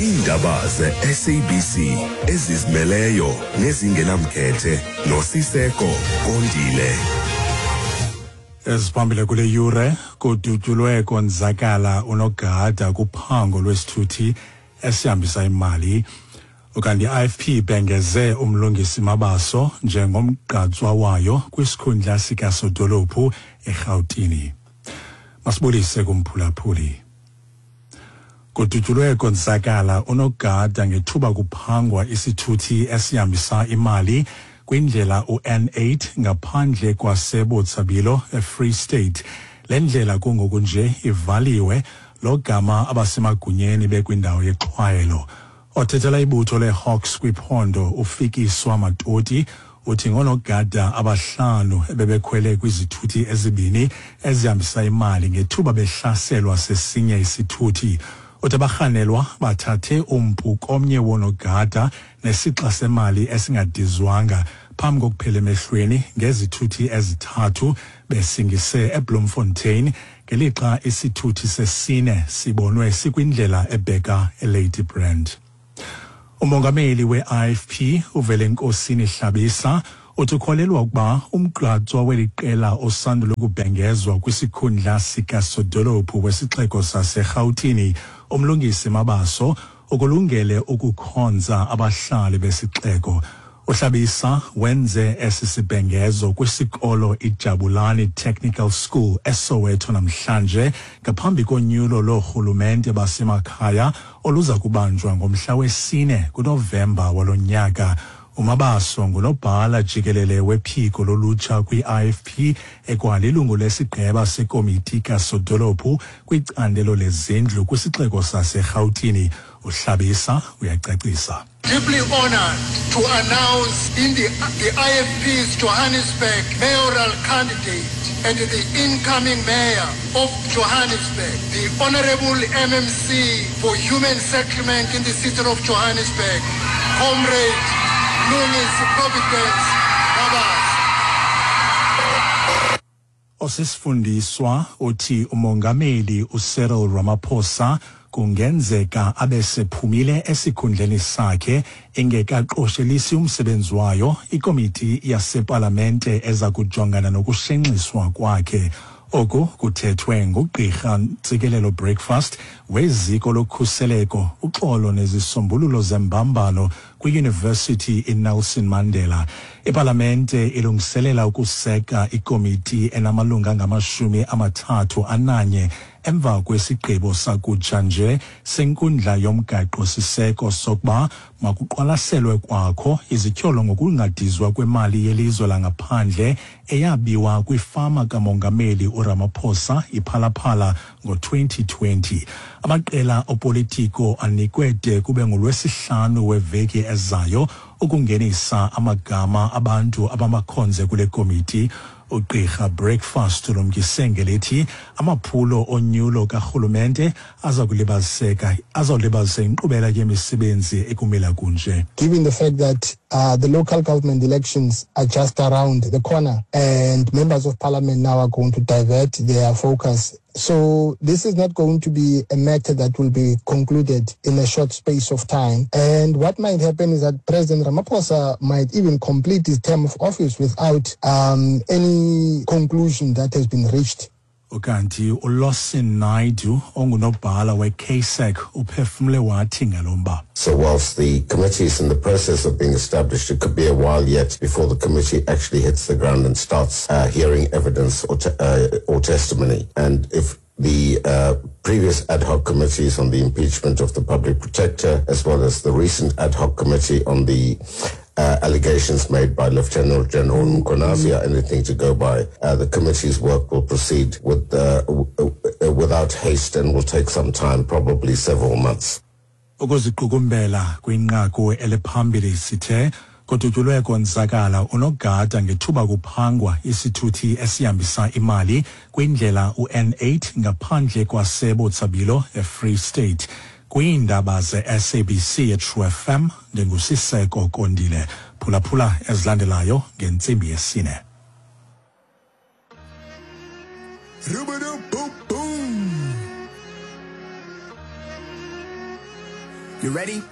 Iindaba ze-SABC ezizimeleyo nezingenamkhethe noSiseko Kondile. Eziphambili kule yure kudutyulwe konzakala unogada kuphango lwesithuthi esihambisa imali. Ukanti i-IFP ibhengeze uMlungisi Mabaso njengomgqatswa wayo kwisikhundla sikasodolophu eRhawutini. Masibulise kumphulaphuli. Kudutyulwe konzakala unogada ngethuba kuphangwa isithuthi esihambisa imali kwindlela u-N8 ngaphandle kwaseBotshabelo eFree State. Le ndlela kungoku nje ivaliwe logama abasemagunyeni bekwindawo yexhwayelo. Othethela ibutho leHawks kwiphondo uFikiswa Matoti uthi ngoonogada abahlanu ebebekhwele kwizithuthi ezibini ezihambisa imali ngethuba behlaselwa sesinye isithuthi. Uthi abarhanelwa bathathe umpu komnye woonogada nesixa semali esingadizwanga phambi kokuphela emehlweni ngezithuthi ezithathu besingise eBloemfontein ngelixa isithuthi sesine sibonwe sikwindlela ebheka eLady Brand. Umongameli we-IFP uVelenkosini Hlabisa uthi ukholelwa ukuba umgqatswa weli qela osandula ukubhengezwa kwisikhundla sikasodolophu wesixeko saseRhawutini uMlungisi Mabaso ukulungele ukukhonza abahlali besixeko. UHlabisa wenze esi sibhengezo kwisikolo iJabulani Technical School eSoweto namhlanje ngaphambi konyulo loorhulumente basemakhaya oluza kubanjwa ngomhla wesine kuNovemba walo nyaka. UMabaso ngunobhala jikelele wephiko lolutsha kwi-IFP ekwalilungu lesigqeba sekomiti kasodolophu kwicandelo lezindlu kwisixeko saseRhawutini. UHlabisa uyacacisa. Deeply honored to announce in the IFP's Johannesburg mayoral candidate and the incoming mayor of Johannesburg, the Honorable MMC for Human Settlement in the city of Johannesburg, Comrade Mlungisi Providence Mabaso. Osisifundiswa uthi umongameli uCyril Ramaphosa kungenzeka abe sephumile esikhundleni sakhe ingekaqoshelisi umsebenzi wayo ikomiti yasepalamente eza kujongana nokushenxiswa kwakhe. Oku kuthethwe ngugqirha Ntsikelelo Breakfast weziko lokhuseleko, uxolo nezisombululo zembambano kwiYunivesithi iNelson Mandela. Ipalamente ilungiselela ukuseka ikomiti enamalungu angamashumi amathathu ananye emva kwesigqibo sakutsha nje senkundla yomgaqo-siseko sokuba makuqwalaselwe kwakho izityholo ngokungadizwa kwemali yelizwe langaphandle eyabiwa kwifama kamongameli uRamaphosa iPhalaphala ngo-2020. Amaqela opolitiko anikwe de kube ngolwesihlanu weveki ezayo ukungenisa amagama abantu abamakhonze kule komiti. Ugqirha Breakfast ulumkise ngelithi amaphulo onyulo karhulumente aza kulibaziseka azawulibazisa inkqubela yemisebenzi ekumila kunje. Given the fact that the local government elections are just around the corner and members of parliament now are going to divert their focus. So this is not going to be a matter that will be concluded in a short space of time. And what might happen is that President Ramaphosa might even complete his term of office without any conclusion that has been reached. Ukanti uLawson Naidu ongunobhala we-KSEC uphefumle wathi ngalo mba. So whilst the committee is in the process of being established, it could be a while yet before the committee actually hits the ground and starts hearing evidence or testimony. And if the previous ad hoc committees on the impeachment of the public protector, as well as the recent ad hoc committee on the allegations made by Lieutenant General Mkhwanazi are anything to go by, the committee's work will proceed without haste and will take some time, probably several months. Ukuziqukumbela kwinqaku eliphambili sithe kudutyulwe konzakala unogada ngethuba kuphangwa isithuthi esihambisa imali kwindlela u-N8 ngaphandle kwaseBotshabelo eFree State. Kwiindaba ze-SABC eTrue FM ndinguSiseko Kondile. Phulaphula ezilandelayo ngentsimbi yesine. You ready?